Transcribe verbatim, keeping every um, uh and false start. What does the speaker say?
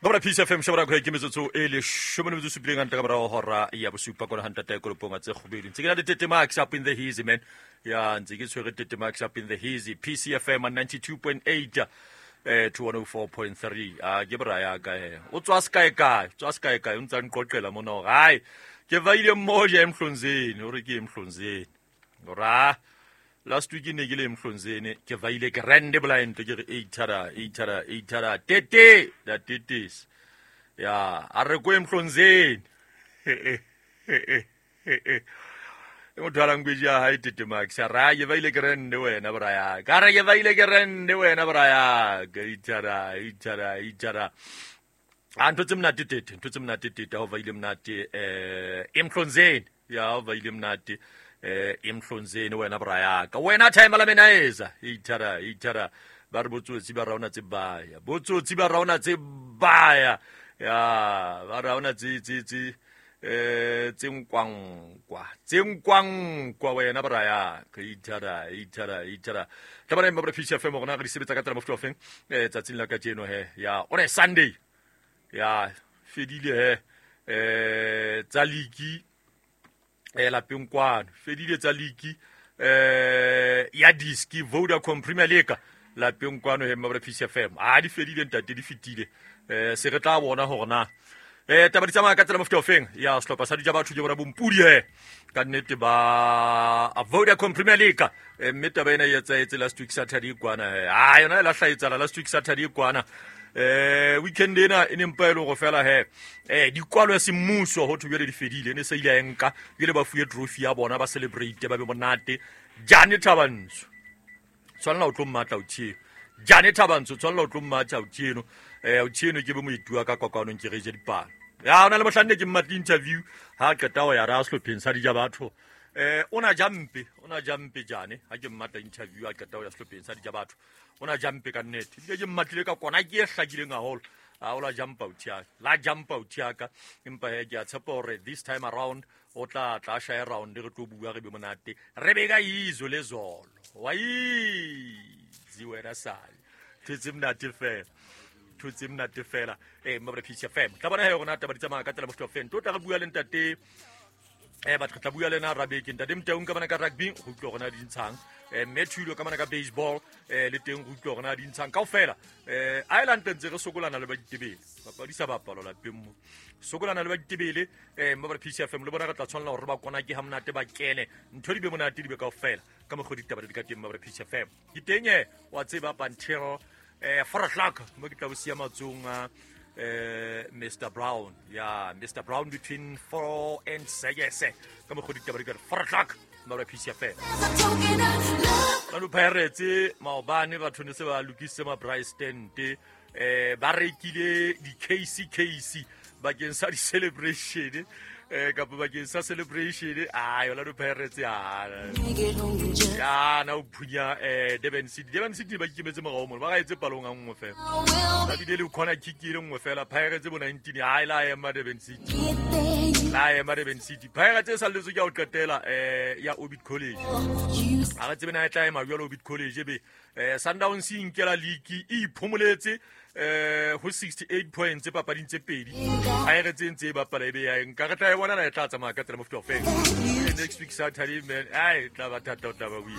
Babra Peace F M shabra go ke metsotso e le shome le metsotso supileng hantle ka morao hora ya bosupa kona hantle ta kolopong a tse kgobedi. Ntse ke na le Tete Max up in the hazy man. Ya ntse ke tshwere Tete Max up in the hazy P C F M ninety-two point eight eh to one oh four point three. A ke bra ya ka he. O tswa sekae kae? Tswa sekae kae? O ntsa nqoqela mona hore hai ke vaile mmoja Emhlonzeni, o re ke Emhlonzeni. Ora last week ne ke le Emhlonzeni ke vaile grand blind ke re eight thara eight thara eight thara tete da tetes. Ya a re ko Emhlonzeni. E motho a language ya hae Tete Max a ra ke vaile grand wena bra ya. Ka re ke vaile grand wena bra ya. Ke eight thara eight thara eight thara. A ntho tse monate tete, ntho tse monate tete ha o vaile monate eh Emhlonzeni. Ya o vaile monate eh Emhlonzeni wena bra ya ka. Wena time la mena eza eight thara eight thara ba re botsotsi ba raona tse baya. Botsotsi ba raona tse baya. Ya ba raona tse tse tse eh tse nkwankwa. Tse nkwankwa wena bra ya ka eight thara eight thara eight thara. Tla bona mma Peace F M rona re di sebetsa ka tsela mofuta ofeng eh tsatsing la kajeno he. Ya one Sunday. Ya fedile he eh tsa liki eh lapeng kwano fedile tsa liki eh ya diski Vodacom Premier League lapeng kwano he mma Peace F M a di fedile ntate di fitile eh se re tla bona hore na eh taba di tsamaya ka tsela mofuta ofeng ya sehlopha sa dija batho ke bona bompudi he ka nnete ba Vodacom Premier League eh mme taba ena e etsahetse last week Saturday kwana he a yona e la hlaetsala last week Saturday kwana eh weekend ena e ne mpa e le go fela he eh dikwalo ya semmuso ho thwe di fedile ne se ile ya nka ile ba fuwe trophy ya bona ba celebrate ba be monate. Jane Thabantsho tshwanela o tlo mmatla o tsheno. Jane Thabantsho tshwanela o tlo mmatla o tsheno eh o tsheno ke be moitua ka kwakwanong ke re je dipalo. Ya ona le mohlanne ke mmatla interview ha qeta ho ya ra sehlopheng sa dija batho eh ona jampe ona jampe Jane ha ke mmatla interview ha qeta ho ya sehlopheng sa dija batho ona jampe ka nnete ebile ke mmatlile ka kona ke e hlakileng haholo a o la jump out ya la jump out ya ka empa he ke a tshepa hore this time around o tla tla share round re tlo bua re be monate re be ka izo le zolo wa itse wena sale thetse monate fela thetse monate fela eh mma Peace F M tla bona he rona taba di tsamaya ka tsela mofuta ofeng tlo tla re bua le ntate eh batho tla bua le na rabeke ntate Mtaung ka bana ka rugby go utlwa rona di ntshang eh Matthew ka bana ka baseball eh le teng go utlwa rona di ntshang kaofela eh Ireland ntse re sokolana le ba ditebele papadi sa bapalo lapeng mo sokolana le ba ditebele eh mma Peace F M le bona re tla tshwanela hore ba kona ke ha monate ba kene ntho di be monate di be kaofela ka mokgwa ditaba di ka teng mma Peace F M ke teng eh wa tseba Pantero eh four o'clock mo ke tla bosia matsong a eh Mister Brown ya Mister Brown between four and six ka mokgwa ditaba di ka four o'clock mma Peace F M Lano Pirates maobane batho ne se ba lokisitse ma price tent eh ba rekile di K C K C bakeng sa di celebration eh kapa bakeng sa celebration ah yona Pirates ya ya na o phunya eh Durban City Durban City ba ikemetse morao mono ba ga etse palong a nngwe fela ba bile le corner kick e le nngwe fela Pirates bo nineteen ha ila ema Durban City la ema Durban City Pirates e salletswe ke ho qetela eh ya Orbit College a re tsebe na e tla ema jwalo Orbit College be eh Sundowns e inkela league e iphomoletse eh ho sixty-eight points papading tse pedi Pirates e ntse e bapala ebe ya nka re tla e bona na e tla tsamaya ka tsela mofuta ofeng next week Saturday man ai tla ba thata o tla ba win.